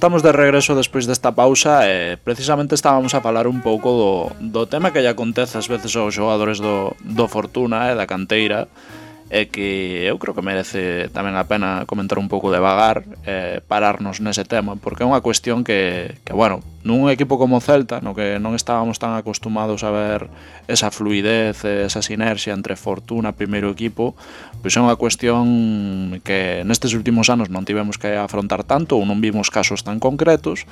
estamos de regreso despois desta pausa e precisamente estábamos a falar un pouco do tema que lle acontece ás veces aos xogadores do Fortuna e da canteira, e que eu creo que merece tamén a pena comentar un pouco devagar, pararnos nese tema, porque é unha cuestión que bueno, nun equipo como o Celta, no que non estábamos tan acostumados a ver esa fluidez, esa sinerxia entre Fortuna, primeiro equipo, pois é unha cuestión que nestes últimos anos non tivemos que afrontar tanto ou non vimos casos tan concretos,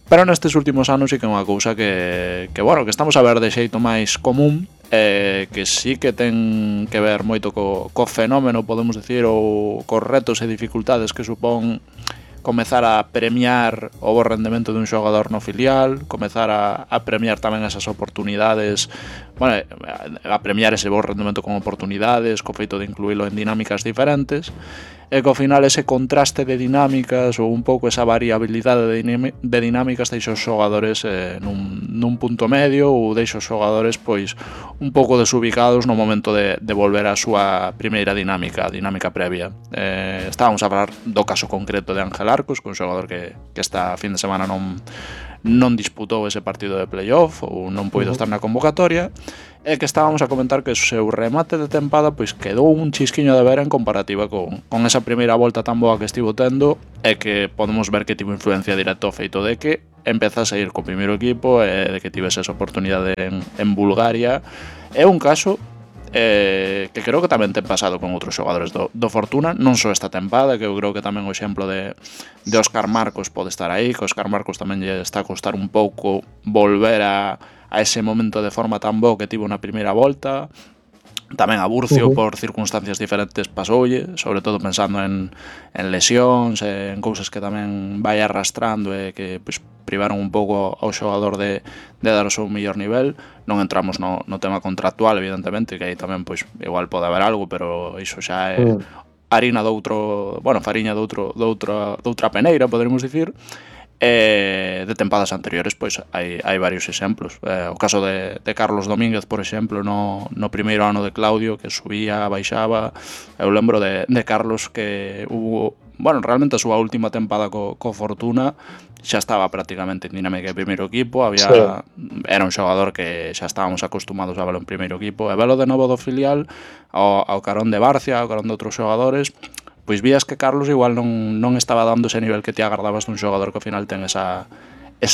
pero nestes últimos anos sí que é unha cousa que bueno, que estamos a ver de xeito máis común, que sí que ten que ver moito co fenómeno, podemos decir, ou cos retos e dificultades que supón comezar a premiar o bo rendemento dun xogador no filial, comezar a premiar tamén esas oportunidades, bueno, a premiar ese bo rendemento con oportunidades, co feito de incluílo en dinámicas diferentes, e que ao final ese contraste de dinámicas ou un pouco esa variabilidade de dinámicas deixa os xogadores nun punto medio ou deixa os xogadores pois un pouco desubicados no momento de volver á súa primeira dinámica, a dinámica previa. Estábamos a falar do caso concreto de Ángel Arcos, que é un xogador que esta fin de semana non disputou ese partido de playoff ou non puido estar na convocatoria, e que estábamos a comentar que o seu remate de tempada pois quedou un chisquiño de ver en comparativa con esa primeira volta tan boa que estivo tendo, e que podemos ver que tivo influencia directa ao feito de que empezase a ir co primeiro equipo e de que tivese esa oportunidade en Bulgaria. É un caso que creo que tamén ten pasado con outros xogadores do Fortuna, non só esta tempada, que eu creo que tamén o exemplo de Óscar Marcos pode estar aí, que Óscar Marcos tamén lle está a costar un pouco volver a ese momento de forma tan bo que tivo na primeira volta. Tamén a Burcio por circunstancias diferentes pasoulle, sobre todo pensando en lesións, en cousas que tamén vai arrastrando e que pois, privaron un pouco ao xogador de dar o seu mellor nivel. Non entramos no tema contractual, evidentemente, que aí tamén pois igual pode haber algo, pero iso xa é harina doutro, bueno, fariña doutra peneira, poderemos dicir. De tempadas anteriores pois hai varios exemplos, o caso de Carlos Domínguez, por exemplo, no primeiro ano de Claudio, que subía, baixaba. Eu lembro de Carlos que hubo, bueno, realmente a súa última tempada co Fortuna xa estaba prácticamente en dinámica de primeiro equipo, era un xogador que xa estábamos acostumados a verlo en primeiro equipo, e velo de novo do filial ao carón de Barcia, ao carón de outros xogadores, pois vías que Carlos igual non estaba dando ese nivel que te agardabas dun xogador que ao final ten esa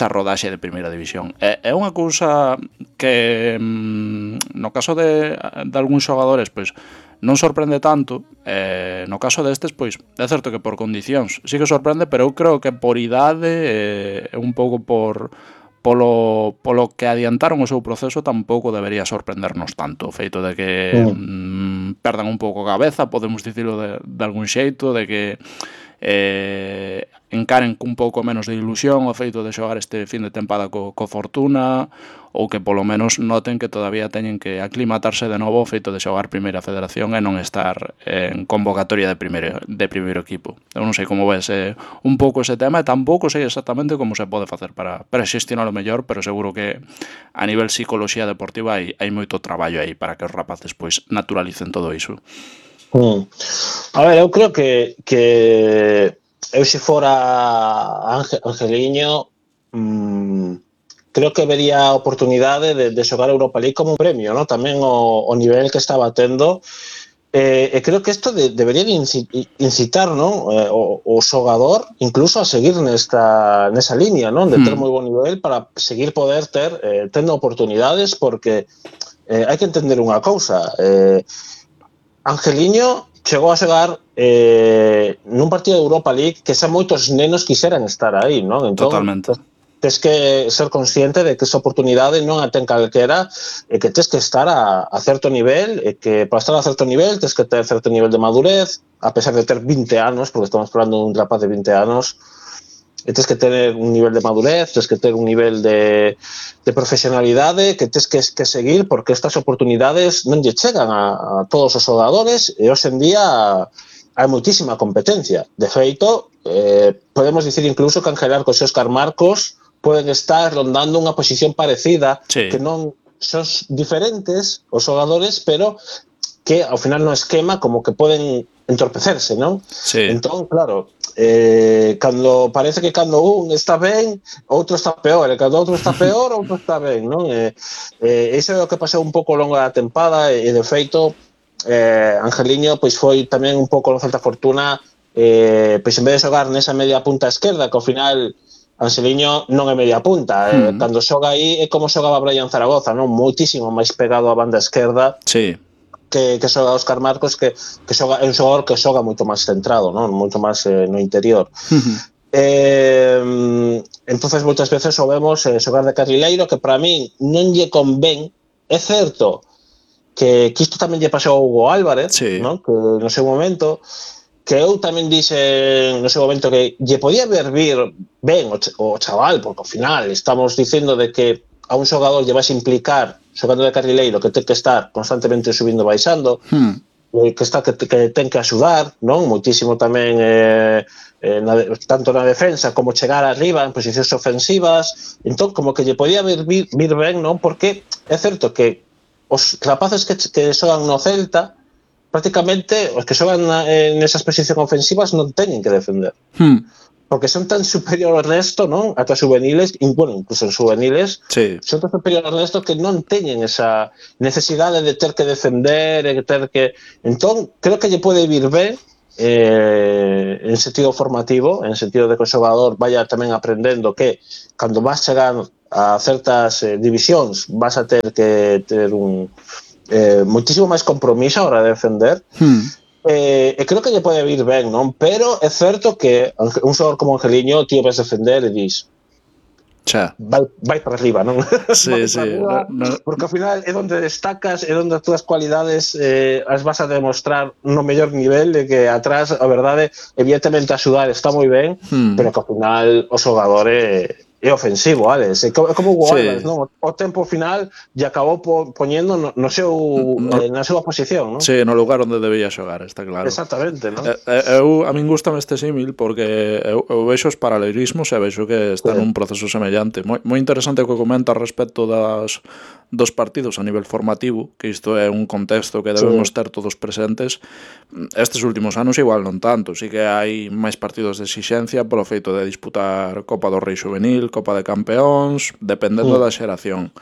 rodaxe de primeira división. É unha cousa que no caso de algúns xogadores pois non sorprende tanto, no caso destes pois é certo que por condicións sí que sorprende, pero eu creo que por idade un pouco polo que adiantaron o seu proceso tampouco debería sorprendernos tanto o feito de que perdan un pouco a cabeza, podemos dicirlo de algún xeito, de que encaren cun pouco menos de ilusión o feito de xogar este fin de tempada co Fortuna, ou que polo menos noten que todavía teñen que aclimatarse de novo o feito de xogar Primeira Federación e non estar en convocatoria de primeiro equipo. Eu non sei como ves un pouco ese tema, e tampouco sei exactamente como se pode facer para xestionar o mellor, pero seguro que a nivel psicoloxía deportiva hai moito traballo aí para que os rapaces pois naturalicen todo iso. A ver, eu creo que eu se fora Angeliño creo que vería a oportunidade de xogar a Europa League como un premio, ¿no? Tamén o nivel que estaba tendo, e creo que isto debería de incitar, ¿no? o xogador incluso a seguir nesa línea, ¿no? De ter moi bon nivel para seguir poder ter tendo oportunidades, porque hai que entender unha cousa, Angeliño chegou a xogar nun partido de Europa League que xa moitos nenos quixeran estar aí, non? Entón, totalmente. Tes que ser consciente de que esa oportunidade non a ten calquera, e que tes que estar a certo nivel, e que para estar a certo nivel tes que ter certo nivel de madurez, a pesar de ter 20 anos, porque estamos falando dun rapaz de 20 anos, e tes que ter un nivel de madurez, tes que ter un nivel de profesionalidade que tes que seguir, porque estas oportunidades non lle chegan a todos os xogadores, e hoxe en día hai moitísima competencia. De feito, podemos dicir incluso que Ángel Arcos e Óscar Marcos poden estar rondando unha posición parecida, sí, que non son diferentes os xogadores, pero que ao final no esquema como que poden entorpecerse, non? Sí. Entón, claro, cando parece que cando un está ben, outro está peor, e cando outro está peor, outro está ben, non? Iso é o que pasou un pouco ao longo da tempada, e de feito Angeliño pois foi tamén un pouco no Celta Fortuna, pois en vez de xogar nesa media punta esquerda, que ao final Angeliño non é media punta, cando xoga aí é como xogaba Brian Zaragoza, non? Moitísimo máis pegado á banda esquerda. Sí. Que xoga Óscar Marcos, que xoga, é un xogador que xoga moito máis centrado, non? Moito máis no interior. Entonces moitas veces o vemos xogar de carrileiro, que para min non lle convén. É certo que isto tamén lle pasou a Hugo Álvarez, sí, non? Que no seu momento, que eu tamén dixen no seu momento que lle podía vir ben o chaval, porque ao final estamos dicendo de que a un xogador lle vais implicar xogando de carrileiro que ten que estar constantemente subindo e baixando, que ten que axudar, non? Moitísimo tamén tanto na defensa como chegar arriba en posicións ofensivas. Entón, como que lle podía vir ben, non? Porque é certo que os rapaces que xogan no Celta, prácticamente os que xogan nesas posicións ofensivas non teñen que defender. Porque son tan superior ao resto, non? Ata juveniles, bueno, incluso en juveniles, son tan superior ao resto que non teñen esa necesidade de ter que defender, de ter que... Entón, creo que lle pode vir ben en sentido formativo, en sentido de que o xogador vaya tamén aprendendo que cando vas chegar a certas divisións vas a ter que ter moitísimo máis compromiso a hora de defender. Creo que lle pode vir ben, non? Pero é certo que un xogador como Angeliño tío ves defender e dis vai para arriba, non? Sí, sí. Arriba, porque ao final é onde destacas, é onde as túas cualidades as vas a demostrar no mellor nivel, de que atrás, a verdade, evidentemente axudar está moi ben, pero que ao final o xogador é ofensivo, Alex. É como o Álvarez, non? O tempo final lle acabou poñendo na súa posición, non? Sí, no lugar onde debía xogar, está claro. Exactamente, non? A min gustame este símil porque eu vexo os paralelismos e vexo que está nun proceso semellante. Moi interesante o que comenta respecto dos partidos a nivel formativo, que isto é un contexto que debemos ter todos presentes. Estes últimos anos igual non tanto, sí que hai máis partidos de exixencia polo feito de disputar Copa do Rei Juvenil, Copa de Campeóns, dependendo da xeración.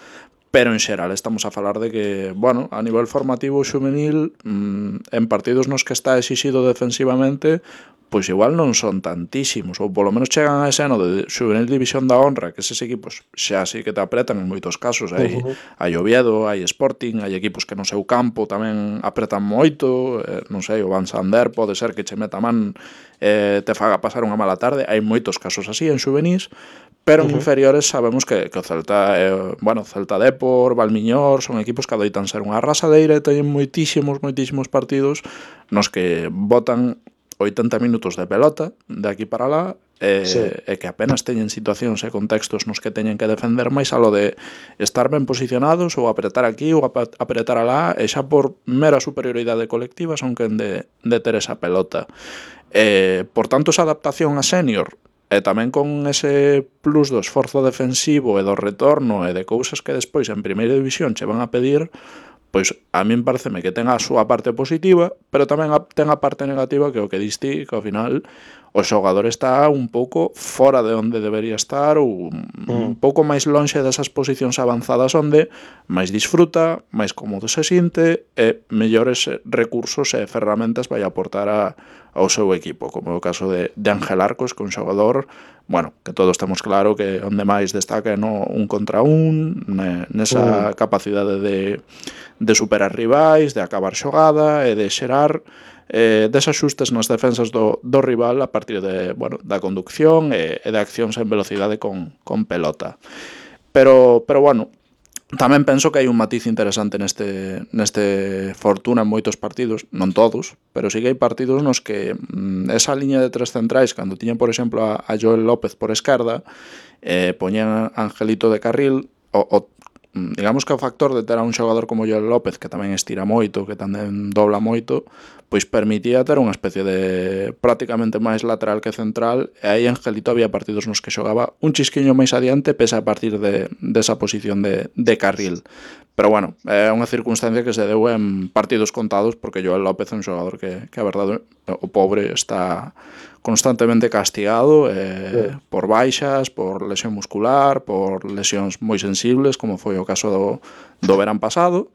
Pero en xeral estamos a falar de que, bueno, a nivel formativo xuvenil, en partidos nos que está exixido defensivamente, pois igual non son tantísimos, ou polo menos chegan a ese ano de Xuvenil División da Honra, que eses equipos xa sí que te apretan en moitos casos. Hai Oviedo, hai Sporting, hai equipos que no seu campo tamén apretan moito, non sei, o Van Sander pode ser que che meta man te faga pasar unha mala tarde. Hai moitos casos así en xuvenís, pero en inferiores sabemos que o Celta, Celta Depor, Valmiñor, son equipos que adoitan ser unha arrasadeira e teñen moitísimos partidos nos que botan 80 minutos de pelota de aquí para lá e que apenas teñen situacións e contextos nos que teñen que defender máis a lo de estar ben posicionados ou apretar aquí ou apretar alá, e xa por mera superioridade colectiva son quen de ter esa pelota. Por tanto, esa adaptación a senior e tamén con ese plus do esforzo defensivo e do retorno e de cousas que despois en primeira división che van a pedir, pois a min pareceme que ten a súa parte positiva, pero tamén ten a parte negativa, que é o que diste, que ao final o xogador está un pouco fora de onde debería estar, ou un pouco máis lonxe desas posicións avanzadas onde máis disfruta, máis cómodo se sinte e mellores recursos e ferramentas vai aportar ao seu equipo, como é o caso de Ángel Arcos, que é un xogador, bueno, que todos temos claro que onde máis destaca é no un contra un, nesa capacidade de superar rivais, de acabar xogada e de xerar desaxustes nas defensas do rival a partir da conducción e de accións en velocidade con pelota. Pero bueno, tamén penso que hai un matiz interesante neste Fortuna en moitos partidos, non todos, pero sí que hai partidos nos que esa liña de tres centrais, cando tiñan, por exemplo, a Joel López por esquerda, poñían a Angelito de carril, digamos que o factor de ter a un xogador como Joel López, que tamén estira moito, que tamén dobla moito, pois permitía ter unha especie de prácticamente máis lateral que central, e aí Angelito había partidos nos que xogaba un chisquiño máis adiante, pese a partir desa posición de carril. Pero bueno, é unha circunstancia que se deu en partidos contados, porque Joel López é un xogador que a verdade, o pobre está constantemente castigado por baixas, por lesión muscular, por lesións moi sensibles, como foi o caso do verán pasado,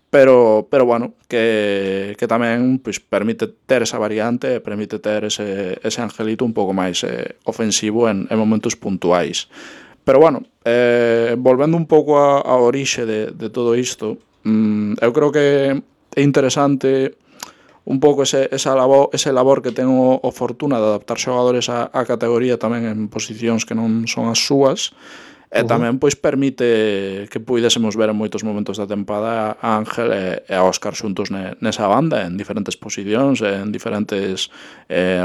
pero bueno, que tamén pois, permite ter esa variante, permite ter ese angelito un pouco máis ofensivo en momentos puntuais. Pero bueno, volvendo un pouco a orixe de todo isto, eu creo que é interesante un pouco ese labor que ten o Fortuna de adaptar xogadores a categoría tamén en posicións que non son as súas, e tamén pois permite que puidésemos ver en moitos momentos da tempada a Ángel e a Óscar xuntos nesa banda, en diferentes posicións, en diferentes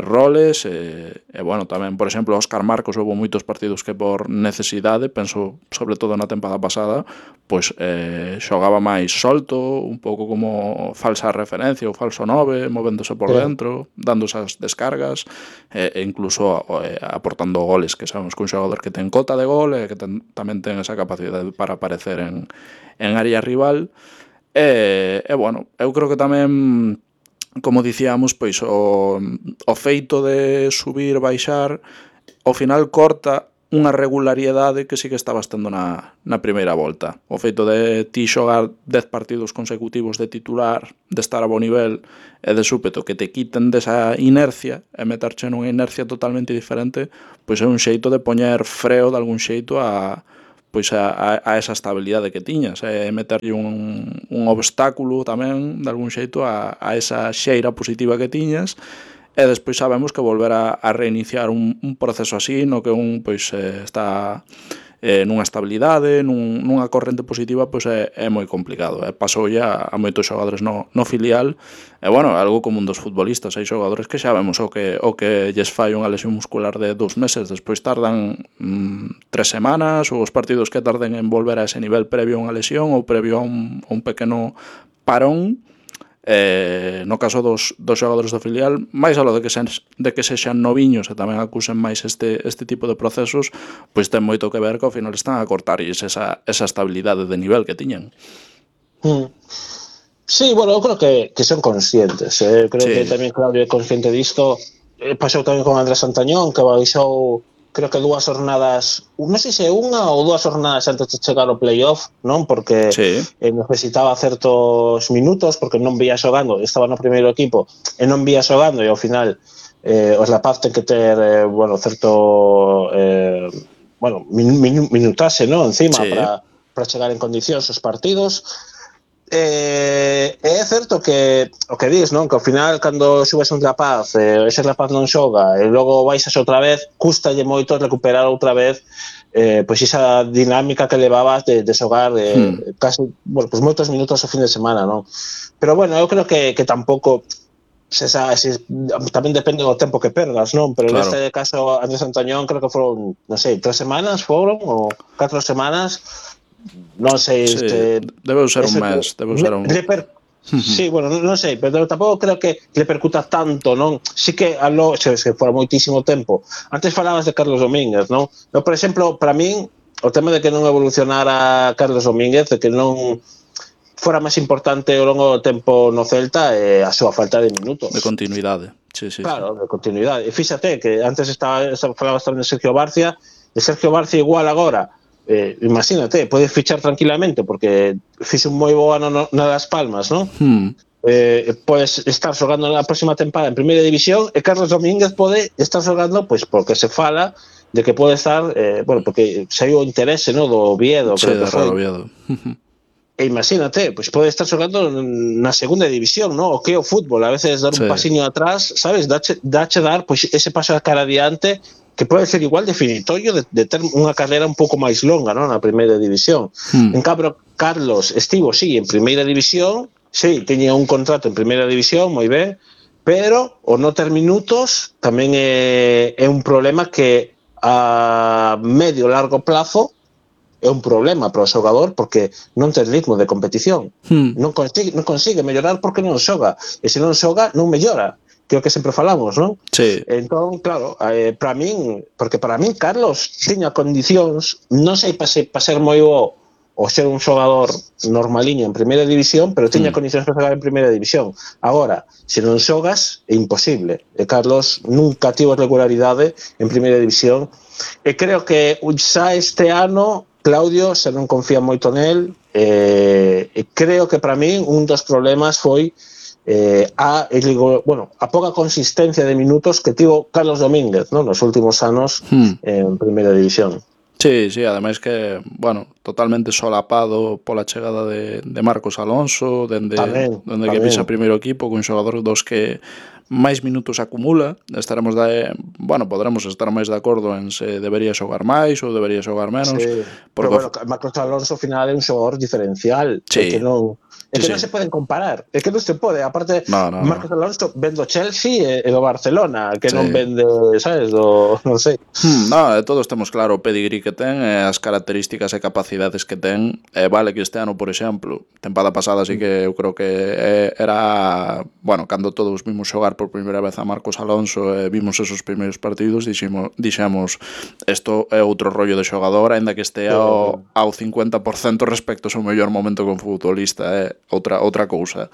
roles, e bueno, tamén, por exemplo, Óscar Marcos houve moitos partidos que por necesidade, penso sobre todo na tempada pasada, pois xogaba máis solto, un pouco como falsa referencia ou falso 9, movéndose por dentro, dando esas descargas, e incluso aportando goles, que sabemos que un xogador que ten cota de gol e que tamén ten esa capacidade para aparecer en área rival. E bueno, eu creo que tamén, como dicíamos, pois o feito de subir, baixar, ao final corta unha regularidade que sí que estabas tendo na primeira volta. O feito de ti xogar 10 partidos consecutivos de titular, de estar a bo nivel e de súpeto que te quiten desa inercia e meterche nunha inercia totalmente diferente, pois é un xeito de poñer freo de algún xeito a esa estabilidade que tiñas, e meterlle un obstáculo tamén de algún xeito a esa xeira positiva que tiñas. E despois sabemos que volver a reiniciar un proceso así no que un pois está nunha estabilidade, nunha corrente positiva, pois é moi complicado. Pasou ya a moitos xogadores no filial, e bueno, algo como un dos futbolistas, hai xogadores que xa vemos o que lles fai unha lesión muscular de 2 meses, despois tardan 3 semanas, ou os partidos que tarden en volver a ese nivel previo a unha lesión ou previo a un pequeno parón. No caso dos xogadores do filial, máis alo de que sexan noviños e tamén acusen máis este tipo de procesos, pois ten moito que ver que ao final están a cortarlles esa estabilidade de nivel que tiñan. Sí, bueno, eu creo que son conscientes. Creo que tamén Claudio é consciente disto. Pasou tamén con Andrés Santañón, que baixou, creo que 2 jornadas, non sei se unha ou 2 jornadas antes de chegar ao playoff, non? Porque necesitaba certos minutos, porque non vía xogando, estaba no primeiro equipo e non vía xogando, e ao final os Lapaz ten que ter certo minutaxe, non? Encima para chegar en condicións os partidos. É certo que o que dis, non? Que ao final cando subes un Rapaz, ese Rapaz non xoga e logo baixas outra vez, custalle moito recuperar outra vez pois esa dinámica que levabas de xogar casi, pois moitos minutos ao fin de semana, non? Pero bueno, eu creo que tampouco tamén depende do tempo que perdas, non? Pero neste caso Andrés Santañón creo que foron, non sei, 3 semanas foron ou 4 semanas. Non sei, debe ser un mes, sí, bueno, non sei, pero tampouco creo que le percuta tanto, non? Sí que se fora moitísimo tempo. Antes falabas de Carlos Domínguez, non? Eu, por exemplo, para min, o tema de que non evolucionara Carlos Domínguez, de que non fora máis importante ao longo do tempo no Celta, a súa falta de minutos. De continuidade. Claro, de continuidade. E fíxate que antes falabas tamén de Sergio Barcia, igual agora, imagínate, podes fichar tranquilamente porque fixe un moi bo ano na Las Palmas, non? Podes estar xogando na próxima tempada en primeira división e Carlos Domínguez pode estar xogando pois porque se fala de que pode estar porque saiu o interese, non, do Oviedo, creo que foi. E imagínate, pois pode estar xogando na segunda división, non? O que é o fútbol, a veces dar un pasiño atrás, sabes, dache dar pois ese paso a cara adiante que pode ser igual definitorio de ter unha carreira un pouco máis longa, non, na primeira división. En cambio, Carlos estivo, en primeira división, teña un contrato en primeira división, moi ben, pero o non ter minutos tamén é un problema que a medio largo plazo é un problema para o xogador porque non ten ritmo de competición. Non consigue mellorar porque non xoga. E se non xoga, non mellora. Que é o que sempre falamos, non? Entón, claro, para min Carlos tiña condicións, non sei para ser moi bo o ser un xogador normaliño en primeira división, pero tiña condicións para xogar en primeira división. Agora, se non xogas, é imposible. E Carlos nunca tivo regularidade en primeira división. E creo que xa este ano Claudio se non confía moito nel, e creo que para min un dos problemas foi a pouca consistencia de minutos que tivo Carlos Domínguez, ¿no?, nos últimos anos en primeira división. Sí, ademais que, totalmente solapado pola chegada de Marcos Alonso, dende que pisa primeiro equipo, cun xogador dos que máis minutos acumula. Podremos estar máis de acordo en se debería xogar máis ou debería xogar menos. Sí, pero Marcos Alonso ao final é un xogador diferencial, que non se poden comparar, é que non se pode, aparte Marcos Alonso vende o Chelsea e do Barcelona, que non vende, sabes, non sei. Todos temos claro o pedigrí que ten, as características e capacidades que ten. Vale que este ano, por exemplo, tempada pasada sí que eu creo que era, cando todos vimos xogar por primeira vez a Marcos Alonso e vimos esos primeiros partidos, dixemos, isto é outro rollo de xogador, aínda que este ao 50% respecto ao seu mellor momento como futbolista, outra cousa.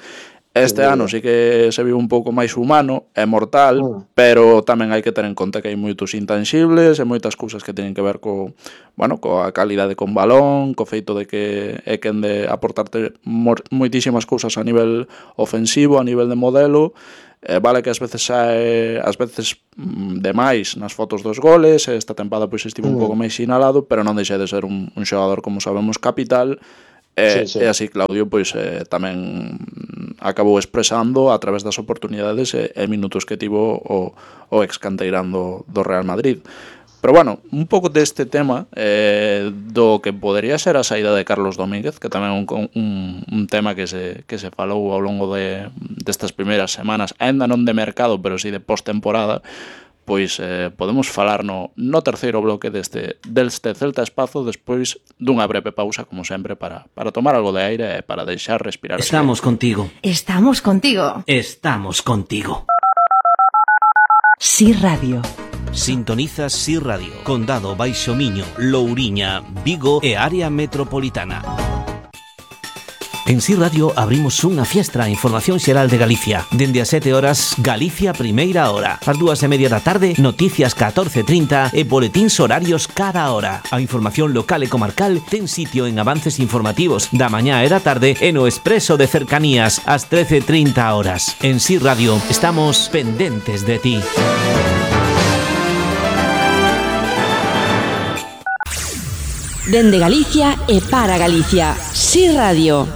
Este ano sí que se viu un pouco máis humano e mortal, pero tamén hai que ter en conta que hai moitos intangibles e moitas cousas que teñen que ver coa calidade con balón, co feito de que é quen de aportarte moitísimas cousas a nivel ofensivo, a nivel de modelo. Vale que ás veces demais nas fotos dos goles, esta tempada pois estivo un pouco máis sinalado, pero non deixa de ser un xogador, como sabemos, capital. E así Claudio pois tamén acabou expresando a través das oportunidades e minutos que tivo o ex canteirán do Real Madrid. Pero un pouco deste tema do que podería ser a saída de Carlos Domínguez, que tamén é un tema que se falou ao longo destas primeiras semanas, aínda non de mercado, pero sí de postemporada. Pois podemos falar no terceiro bloque deste Celta Espazo despois dunha breve pausa, como sempre, para tomar algo de aire e para deixar respirar. Estamos contigo. Estamos contigo. Estamos contigo. Sí Radio. Sintonizas Sí Radio, Condado Baixo Miño, Louriña, Vigo e área metropolitana. En Sí Radio abrimos unha fiestra a información xeral de Galicia. Dende as 7 horas, Galicia Primeira Hora. Ás 2:30 da tarde, noticias 14:30 e boletíns horarios cada hora. A información local e comarcal ten sitio en avances informativos da mañá e da tarde e no expreso de cercanías ás 13:30 horas. En Sí Radio estamos pendentes de ti. Dende Galicia e para Galicia. Sí Radio.